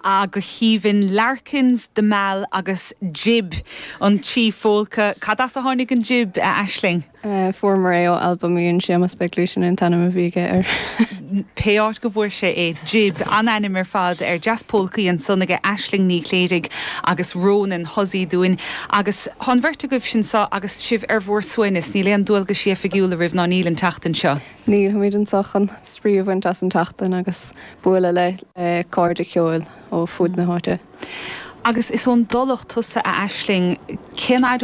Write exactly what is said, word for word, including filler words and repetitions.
Ah, go haoibhinn Larkins, The Mall agus Jib an trí phólca. Cad as a tháinig an Jib a Aisling? Uh, Fuaireamar é ó album an Séamus Begley sin an t-ainm a bhí air. Pé áit go bhfuair sé é Jib an ainm ar fad ar jazz polcaí ansan aige Aisling Ní Chléirigh agus Ronan Hussey dúinn agus tá an bheirt agaibh anseo agus sibh ar bhur suaimhneas níl aon dualgas oifigiúil oraibh ná níl an tseachtain seo. Níl táimid anseo chun spraoi a bhaint as an tseachtain agus bualadh le le cairde ceoil ó fud na háite. Agus is ón dTulach tusa a Aisling cén fhad